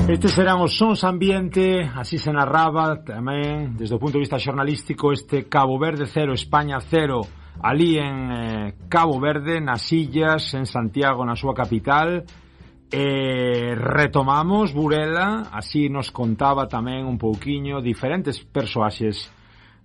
Estes serán os sons ambiente, así se narraba tamén desde o punto de vista xornalístico este Cabo Verde 0, España 0, ali en Cabo Verde, nas illas, en Santiago, na súa capital. Retomamos Burela, así nos contaba tamén un pouquiño diferentes persoaxes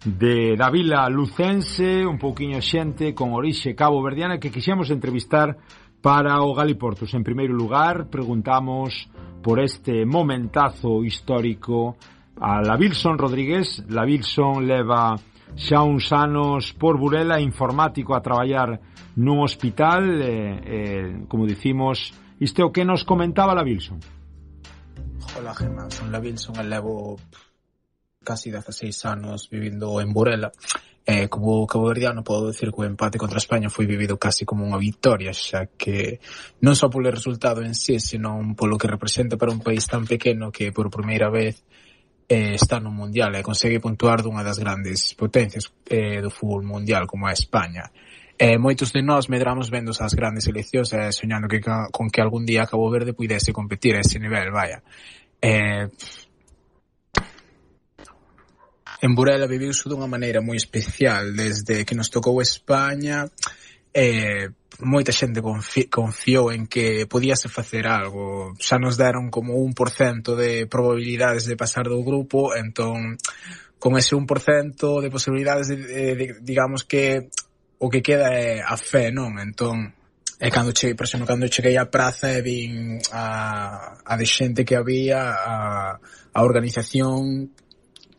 da vila lucense, un pouquiño xente con orixe caboverdiana que quixemos entrevistar para o Galiportus. En primeiro lugar, preguntamos por este momentazo histórico a Lavilson Rodríguez. Lavilson leva xa uns anos por Burela, informático, a traballar nun hospital, como dicimos, isto é o que nos comentaba Lavilson. Hola, Gemma, son Lavilson e levo casi 16 anos vivindo en Burela. Como caboverdiano podo decir que o empate contra España foi vivido casi como unha victoria, xa que non só polo resultado en sí, senón polo que representa para un país tan pequeno que por primeira vez está no mundial e consegue puntuar dunha das grandes potencias do fútbol mundial como é España. Moitos de nós medramos vendo as grandes seleccións e soñando con que algún día Cabo Verde puidese competir a ese nivel, vaya. En Burela viviuse dunha maneira moi especial desde que nos tocou España. Moita xente confiou en que podíase facer algo. Xa nos deron como 1% de probabilidades de pasar do grupo, entón con ese 1% de posibilidades digamos que o que queda é a fe, non? Entón cando cheguei á praza e vin a de xente que había, a organización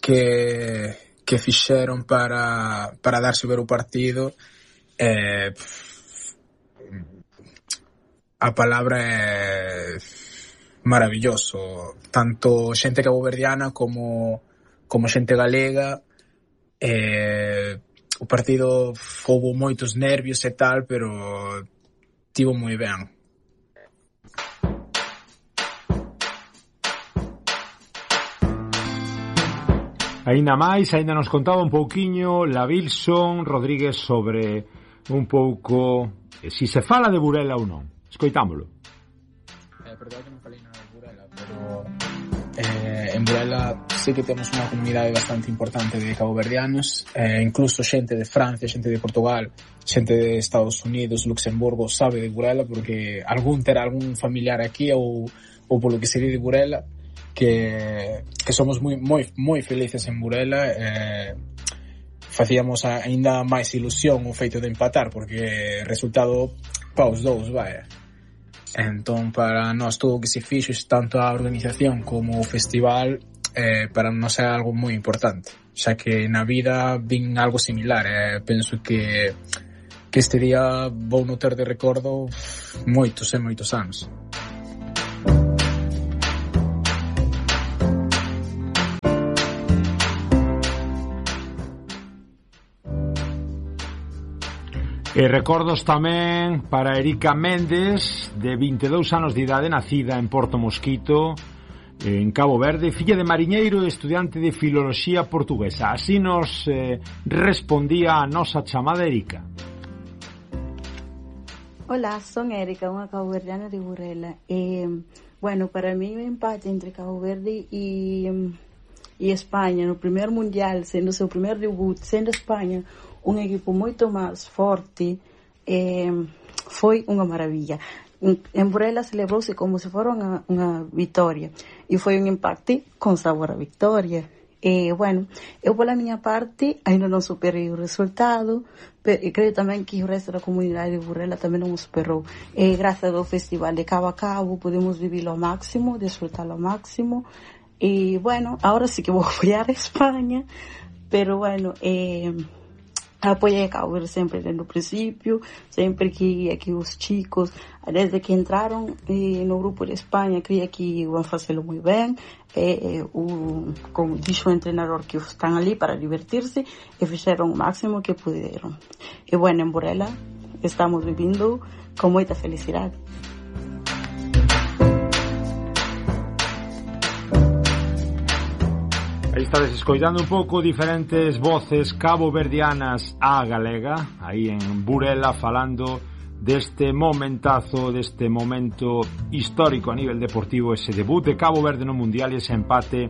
que fixeron para darse ver o partido, a palabra é maravilloso. Tanto xente caboverdiana como xente galega. O partido houbo moitos nervios e tal, pero tivo moi ben. Aínda nos contaba un pouquiño Lavilson Rodríguez sobre un pouco si se fala de Burela ou non. Escoitámolo. Perdón que non falei nada de Burela, pero en Burela sí que temos unha comunidade bastante importante de caboverdianos, incluso xente de Francia, xente de Portugal, xente de Estados Unidos, Luxemburgo sabe de Burela porque terá algún familiar aquí ou polo que se di de Burela. Que somos moi felices en Burela. Facíamos aínda máis ilusión o feito de empatar porque resultado paus 2, vaya. Entón para nós todo o que se fixo, tanto a organización como o festival, para nós é algo moi importante, xa que na vida vin algo similar. Penso que este día vou no ter de recordo moitos anos. E recordos tamén para Erika Méndez, de 22 anos de idade, nacida en Porto Mosquito, en Cabo Verde, filla de mariñeiro e estudiante de filoloxía portuguesa. Así nos respondía a nosa chamada Erika. Hola, son Erika, unha caboverdiana de Burela. Bueno, para mí o empate entre Cabo Verde e España no primeiro mundial, sendo o seu primeiro debut, sendo España un equipo moito máis forte, foi unha maravilla. En Burela celebrouse como se fora unha victoria e foi un empate con sabor a victoria. Bueno, eu pola miña parte ainda non superei o resultado, pero creo tamén que o resto da comunidade de Burela tamén non o superou. Grazas ao festival de Cabo a Cabo podemos vivilo ao máximo, desfrutalo ao máximo. E bueno, ahora sí que vou apoiar a España, pero bueno, apoiei a Cabo Verde sempre desde o principio, sempre que aquí os chicos, desde que entraron no grupo de España, creía que iban a facelo moi ben, como dixo o entrenador, que están ali para divertirse e fixeron o máximo que puderon. E bueno, en Burela estamos vivindo con moita felicidade. Aí estades escoitando un pouco diferentes voces caboverdianas a galega, aí en Burela, falando deste momentazo, deste momento histórico a nivel deportivo, ese debut de Cabo Verde no Mundial e ese empate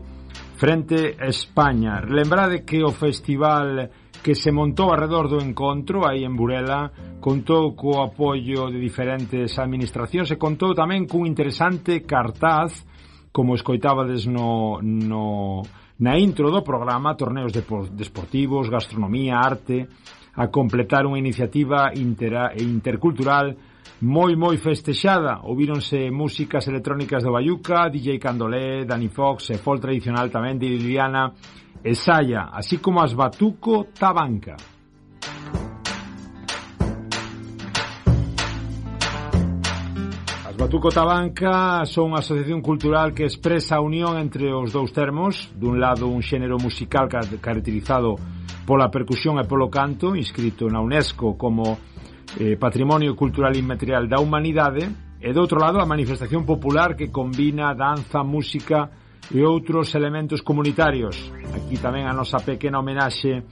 frente a España. Lembrade que o festival que se montou alrededor do encontro aí en Burela contou co apoio de diferentes administracións e contou tamén cun interesante cartaz, como escoitábades na intro do programa, torneos deportivos, gastronomía, arte, a completar unha iniciativa intercultural moi festexada. Ouvíronse músicas electrónicas de Bayuca, DJ Candolé, Dani Fox e folk tradicional tamén de Liliana e Saya, así como as Batuco Tabanca. As Batuco Tabanca son unha asociación cultural que expresa a unión entre os dous termos, dun lado un xénero musical caracterizado pola percusión e polo canto, inscrito na UNESCO como Patrimonio Cultural Inmaterial da Humanidade, e do outro lado a manifestación popular que combina danza, música e outros elementos comunitarios. Aquí tamén a nosa pequena homenaxe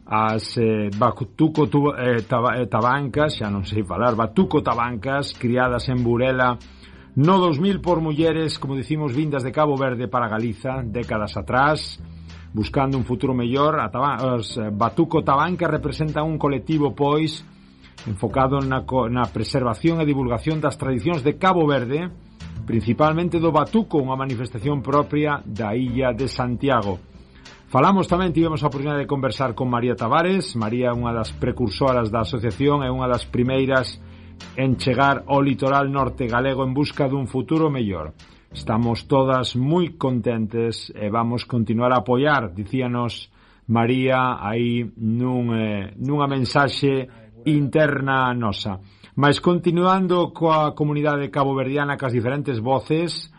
ás Batuco Tabancas, xa non sei falar, Batuco Tabancas, criadas en Burela no 2000 por mulleres, como dicimos, vindas de Cabo Verde para Galiza décadas atrás, buscando un futuro mellor. As Batuco Tabancas representan un colectivo, pois, enfocado na preservación e divulgación das tradicións de Cabo Verde, principalmente do Batuco, unha manifestación propia da illa de Santiago. Falamos tamén, tivemos a oportunidade de conversar con María Tavares. María é unha das precursoras da asociación e unha das primeiras en chegar ao litoral norte galego en busca dun futuro mellor. Estamos todas moi contentes e vamos continuar a apoiar, dicíanos María aí nunha mensaxe interna nosa. Mas continuando coa comunidade caboverdiana, cas diferentes voces,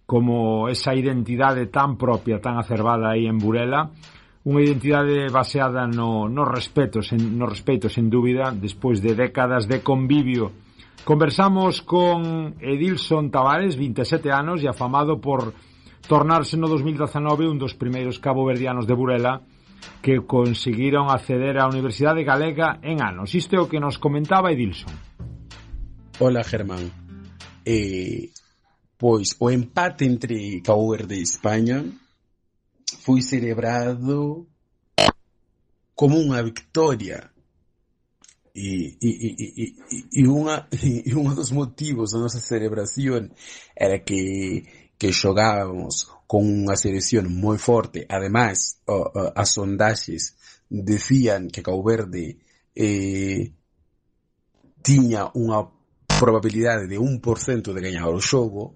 como esa identidade tan propia, tan acervada aí en Burela, unha identidade baseada no respeto, sen dúbida, despois de décadas de convivio. Conversamos con Edilson Tavares, 27 anos, e afamado por tornarse no 2019 un dos primeiros caboverdianos de Burela que conseguiron acceder á Universidade Galega en anos. Isto é o que nos comentaba Edilson. Hola, Germán. Pois o empate entre Cabo Verde e España foi celebrado como unha victoria e un dos motivos da nosa celebración era que xogábamos con unha selección moi forte. Ademais, as sondaxes decían que Cabo Verde tiña unha probabilidade de 1% de gañar o xogo,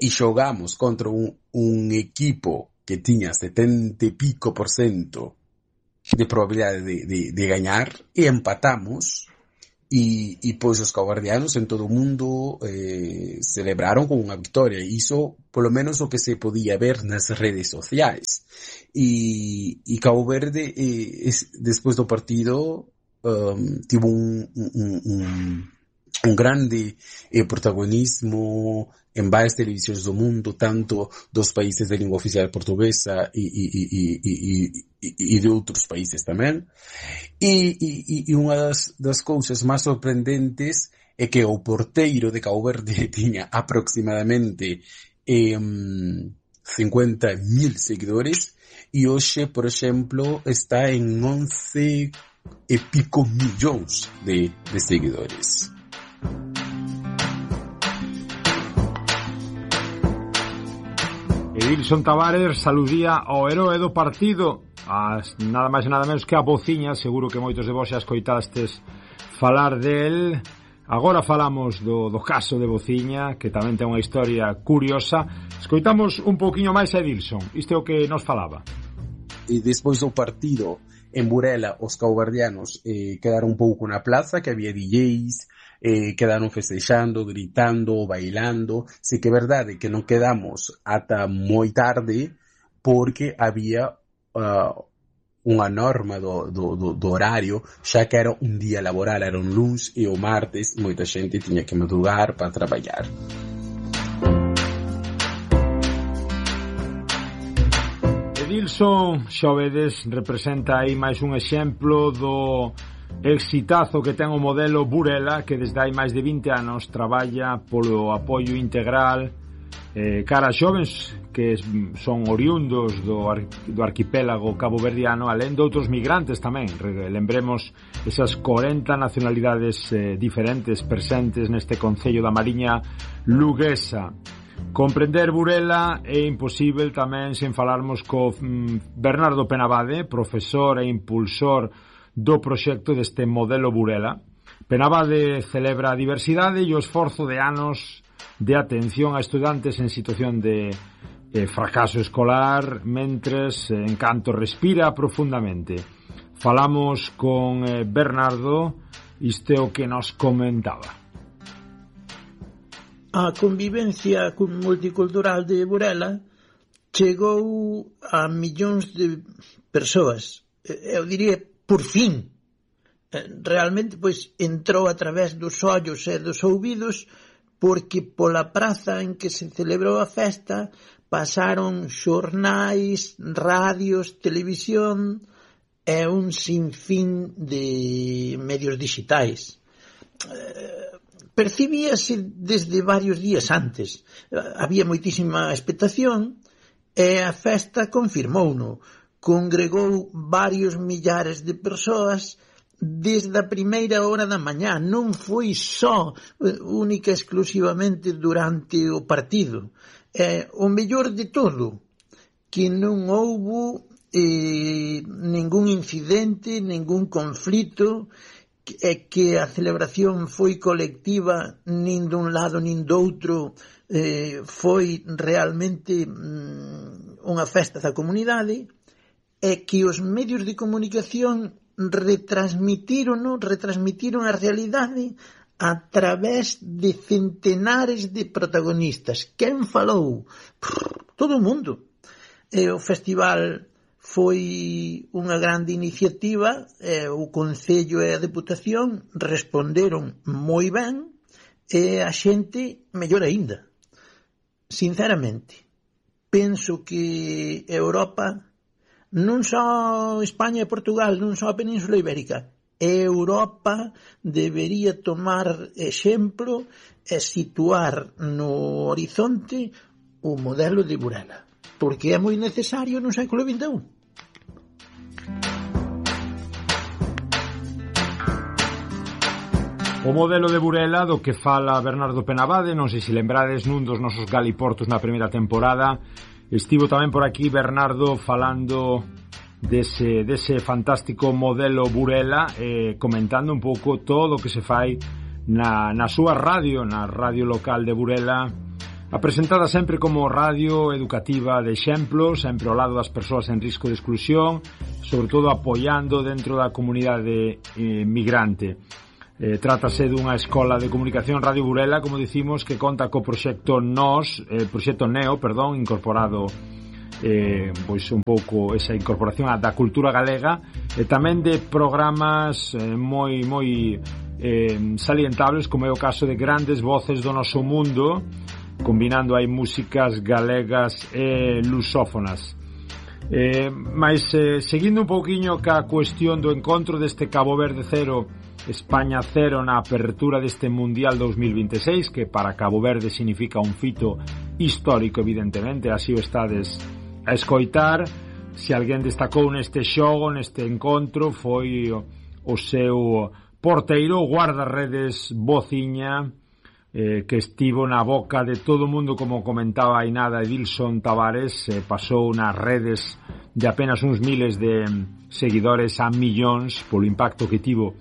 e xogamos contra un equipo que tiña 70 e pico % de probabilidade de gañar, e empatamos, e pois os caboverdianos en todo o mundo celebraron con unha victoria. Iso, polo menos, o que se podía ver nas redes sociais. E Cabo Verde, despois do partido, tivo un grande protagonismo en varias televisións do mundo, tanto dos países de lingua oficial portuguesa e de outros países tamén. E unha das cousas máis sorprendentes é que o porteiro de Cabo Verde tiña aproximadamente 50.000 seguidores, e hoxe, por exemplo, está en 11 e pico millóns de seguidores. Edilson Tavares saludía ao heroe do partido, nada máis e nada menos que a Bociña. Seguro que moitos de vos xa escoitastes falar del. Agora falamos do caso de Bociña, que tamén ten unha historia curiosa. Escoitamos un pouquiño máis a Edilson. Isto é o que nos falaba. E despois do partido en Burela, os caboverdianos quedaron un pouco na plaza, que había DJs, quedaron festexando, gritando, bailando. Sí que é verdade que non quedamos ata moi tarde, porque había unha norma do horario, xa que era un día laboral, era un luns, e o martes moita xente tiña que madrugar para traballar. Edilson, xa vedes, representa aí máis un exemplo exitazo que ten o modelo Burela, que desde hai máis de 20 anos traballa polo apoio integral cara a xovens que son oriundos do arquipélago caboverdiano, alén de outros migrantes tamén. Lembremos esas 40 nacionalidades diferentes presentes neste concello da Mariña luguesa. Comprender Burela é imposible tamén sen falarmos co Bernardo Penabade, profesor e impulsor do proxecto deste modelo Burela. Penabade celebra a diversidade e o esforzo de anos de atención a estudantes en situación de fracaso escolar, mentres Encanto respira profundamente. Falamos con Bernardo, isto é o que nos comentaba. A convivencia multicultural de Burela chegou a millóns de persoas. Eu diría, por fin. Realmente, pois, entrou a través dos ollos e dos ouvidos, porque pola praza en que se celebrou a festa pasaron xornais, radios, televisión e un sinfín de medios digitais. Percibíase desde varios días antes. Había moitísima expectación e a festa confirmouno. Congregou varios millares de persoas desde a primeira hora da mañá. Non foi só única exclusivamente durante o partido. O mellor de todo, que non houbo ningún incidente, ningún conflito, que a celebración foi colectiva, nin dun lado nin do outro, foi realmente unha festa da comunidade, e que os medios de comunicación retransmitiron a realidade a través de centenares de protagonistas. Quen falou? Todo o mundo. O festival foi unha grande iniciativa, o Concello e a Deputación responderon moi ben, e a xente mellor aínda. Sinceramente, penso que Europa, non só España e Portugal, non só a Península Ibérica, Europa debería tomar exemplo e situar no horizonte o modelo de Burela, porque é moi necesario no século XXI. O modelo de Burela do que fala Bernardo Penabade, non sei se lembrades nun dos nosos galiportos na primeira temporada. Estivo tamén por aquí Bernardo falando dese fantástico modelo Burela, comentando un pouco todo o que se fai na súa radio, na radio local de Burela, apresentada sempre como radio educativa de exemplo, sempre ao lado das persoas en risco de exclusión, sobre todo apoiando dentro da comunidade migrante. Trátase dunha escola de comunicación Radio Burela, como dicimos, que conta co proxecto proxecto Neo, incorporado pois un pouco esa incorporación da cultura galega, e tamén de programas moi salientables, como é o caso de Grandes Voces do Noso Mundo, combinando aí músicas galegas e lusófonas. Mas seguindo un pouquiño ca cuestión do encontro deste Cabo Verde 0 España 0 na apertura deste Mundial 2026, que para Cabo Verde significa un fito histórico, evidentemente, así o estades a escoitar. Se alguén destacou neste xogo, neste encontro, foi o seu porteiro, o guardarredes Bociña, que estivo na boca de todo o mundo, como comentaba aí nada Edilson Tavares, pasou nas redes de apenas uns miles de seguidores a millóns polo impacto que tivo.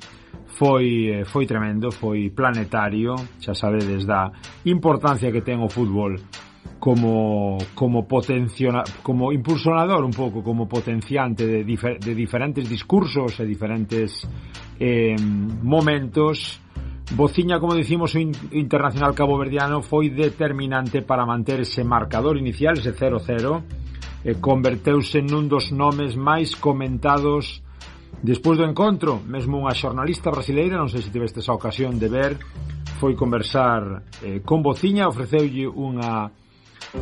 Foi tremendo, foi planetario. Xa sabedes da importancia que ten o fútbol como impulsionador, un pouco como potenciante de diferentes discursos e diferentes momentos. Bociña, como dicimos, o internacional caboverdiano foi determinante para manter ese marcador inicial, ese 0-0, e converteuse nun dos nomes máis comentados despois do encontro. Mesmo unha xornalista brasileira, non sei se tivestes a ocasión de ver, foi conversar con Bociña, ofreceulle unha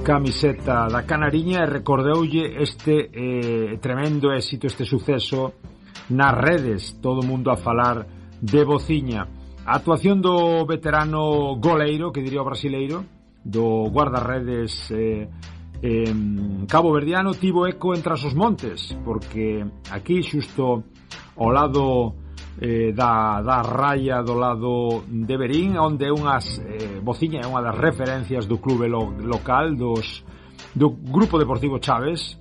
camiseta da Canariña e recordeulle este tremendo éxito, este suceso nas redes, todo o mundo a falar de Bociña. A actuación do veterano goleiro, que diría o brasileiro, do guardarredes caboverdiano, tivo eco entre os montes, porque aquí xusto ao lado da raya do lado de Verín, onde Bociña é unha das referencias do clube local do Grupo Deportivo Chaves,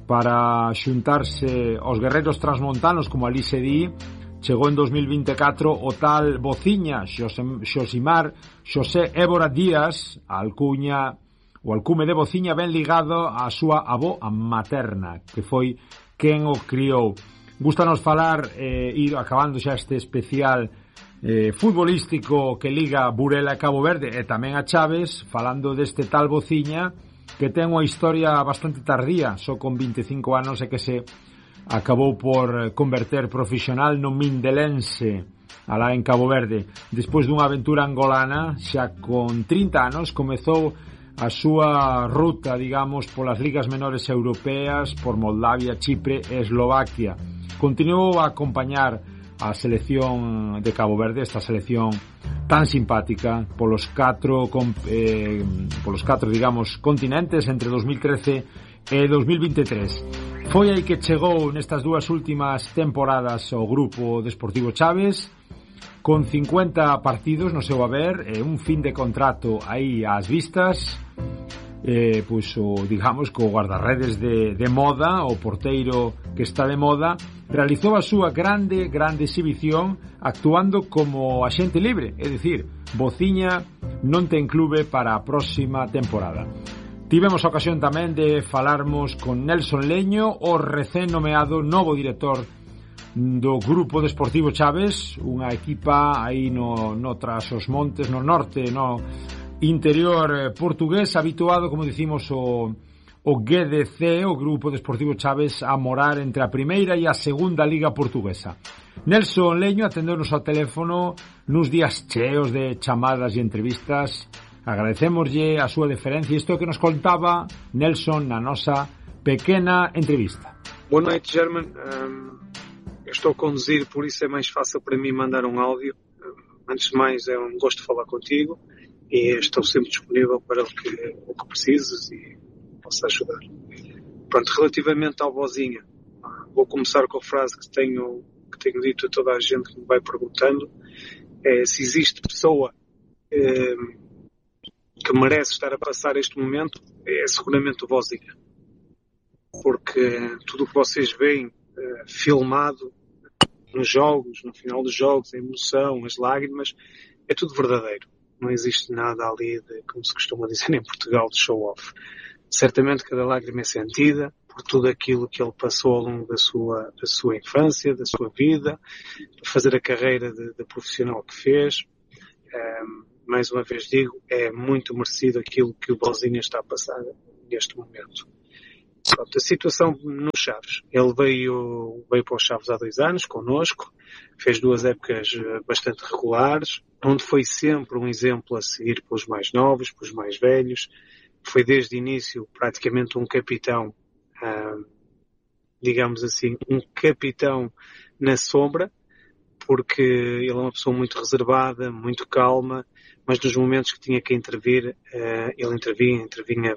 para xuntarse aos guerreiros transmontanos, como ali se di. Chegou en 2024 o tal Bociña, Xosé Évora Díaz, o alcume de Bociña, ben ligado á súa avó materna, que foi quen o criou. Gústanos falar, ir acabando xa este especial futbolístico que liga Burela e Cabo Verde e tamén a Chaves, falando deste tal Bociña, que ten unha historia bastante tardía, só con 25 anos e que se acabou por converter profesional no Mindelense, alá en Cabo Verde. Despois dunha aventura angolana, xa con 30 anos, comezou a súa ruta, digamos, polas ligas menores europeas, por Moldavia, Chipre e Eslovaquia. Continuou a acompañar a selección de Cabo Verde, esta selección tan simpática, polos catro, digamos, continentes entre 2013 e 2023. Foi aí que chegou nestas dúas últimas temporadas o Grupo Deportivo Chaves, con 50 partidos no seu haber, un fin de contrato aí ás vistas, digamos, co guardarredes de moda, o porteiro que está de moda, realizou a súa grande exhibición actuando como axente libre, é dicir, Bociña non ten clube para a próxima temporada. Tivemos a ocasión tamén de falarmos con Nelson Leño, o recén nomeado novo director do Grupo Deportivo Chaves, unha equipa aí no tras os montes, no norte, no interior portugués, habituado, como dicimos, o GDC, o Grupo Deportivo Chaves, a morar entre a primeira e a segunda liga portuguesa. Nelson Leño atendeu-nos ao teléfono nuns días cheos de chamadas e entrevistas. Agradecémoslle a súa deferencia. Isto é o que nos contaba Nelson na nosa pequena entrevista. Boa noite, German. Eu estou a conduzir, por isso é mais fácil para mim mandar um áudio. Antes de mais, é um gosto de falar contigo e estou sempre disponível para o que precises e posso ajudar. Pronto, relativamente ao Bociña, vou começar com a frase que tenho dito a toda a gente que me vai perguntando. Se existe pessoa que merece estar a passar este momento, é seguramente o Bociña. Porque tudo o que vocês veem filmado nos jogos, no final dos jogos, a emoção, as lágrimas, é tudo verdadeiro. Não existe nada ali de, como se costuma dizer em Portugal, de show-off. Certamente cada lágrima é sentida por tudo aquilo que ele passou ao longo da sua infância, da sua vida, fazer a carreira de profissional que fez. Mais uma vez digo, é muito merecido aquilo que o Bociña está a passar neste momento. Pronto, a situação no Chaves. Ele veio para os Chaves há 2 anos, connosco, fez 2 épocas bastante regulares, onde foi sempre um exemplo a seguir pelos mais novos, pelos mais velhos. Foi desde o início praticamente um capitão, digamos assim, um capitão na sombra, porque ele é uma pessoa muito reservada, muito calma, mas nos momentos que tinha que intervir, ele intervinha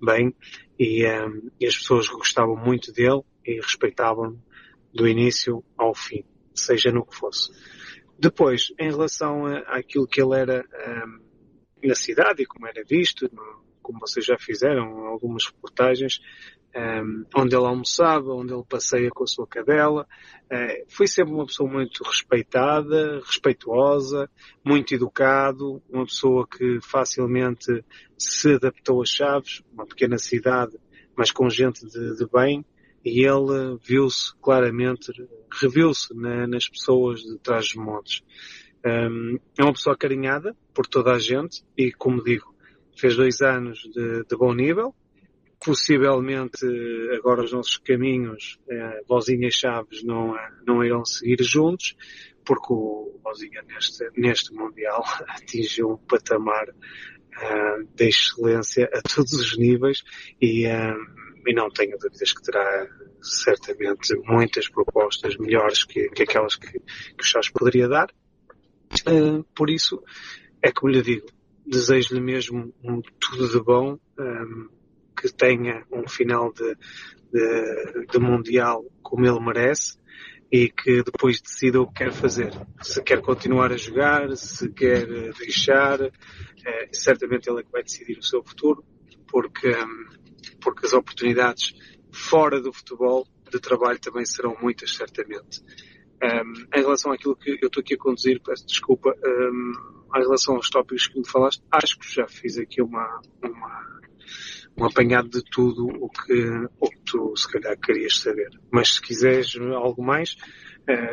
bem e as pessoas gostavam muito dele e respeitavam do início ao fim, seja no que fosse. Depois, em relação àquilo que ele era na cidade e como era visto, como vocês já fizeram algumas reportagens, onde ele almoçava, onde ele passeia com a sua cadela, foi sempre uma pessoa muito respeitada, respeituosa, muito educado, uma pessoa que facilmente se adaptou a Chaves, uma pequena cidade, mas com gente de bem, e ele viu-se claramente, reviu-se nas pessoas de Trás-os-Montes. É uma pessoa acarinhada por toda a gente e, como digo, fez 2 anos de bom nível. Possivelmente agora os nossos caminhos, Bociña e Chaves, não irão seguir juntos, porque o Bociña neste Mundial atingiu um patamar de excelência a todos os níveis e e não tenho dúvidas que terá certamente muitas propostas melhores que aquelas que o Chaves poderia dar. Por isso, é como lhe digo, desejo-lhe mesmo tudo de bom, que tenha um final de Mundial como ele merece e que depois decida o que quer fazer. Se quer continuar a jogar, se quer deixar, certamente ele é que vai decidir o seu futuro, porque as oportunidades fora do futebol de trabalho também serão muitas, certamente. Em relação àquilo que eu estou aqui a conduzir, peço desculpa, em relação aos tópicos que me falaste, acho que já fiz aqui um apanhado de tudo o que tu se calhar querias saber. Mas se quiseres algo mais,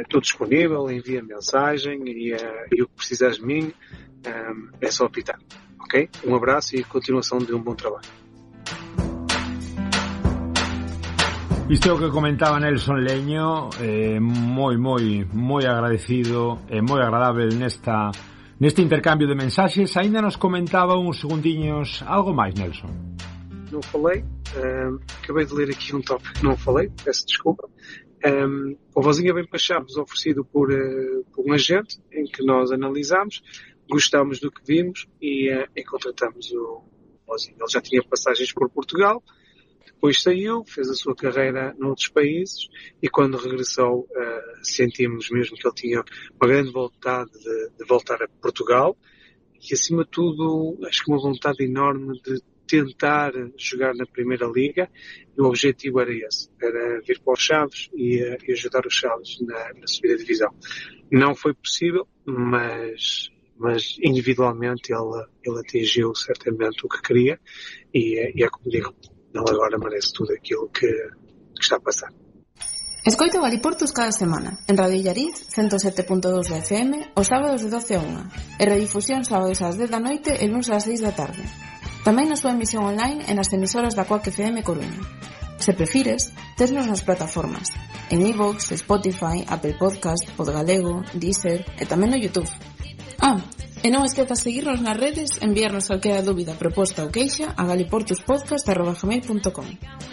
estou disponível, envia mensagem e o que precisares de mim é só apitar. Ok? Um abraço e continuação de um bom trabalho. Isto é o que comentaba Nelson Leño, moi agradecido e moi agradável neste intercambio de mensaxes. Ainda nos comentaba uns segundiños algo máis, Nelson. Não falei, acabei de ler aqui um tópico que não falei, peço desculpa. O Vozinha Bem para Chaves, oferecido por um agente, em que nós analisámos, gostámos do que vimos e contratamos o Vozinha. Ele já tinha passagens por Portugal, depois saiu, fez a sua carreira noutros países e quando regressou sentimos mesmo que ele tinha uma grande vontade de voltar a Portugal e acima de tudo acho que uma vontade enorme de tentar jogar na Primeira Liga e o objetivo era esse, era vir para os Chaves e ajudar os Chaves na subida de divisão. Não foi possível, mas individualmente ele atingiu certamente o que queria e é como digo, ele agora merece tudo aquilo que está a passar. Escoita o Galiportus cada semana en Radio Illariz 107.2 da FM os sábados de 12 a 1 e redifusión sábados ás 10 da noite e luns ás 6 da tarde. Tamén na súa emisión online e nas emisoras da Coac FM Coruña. Se prefires, tesnos nas plataformas en iVoox, Spotify, Apple Podcast, Podgalego, Deezer e tamén no YouTube. E non esquezas seguirnos nas redes, enviarnos calquera dúbida, proposta ou queixa a galiportuspodcast@gmail.com.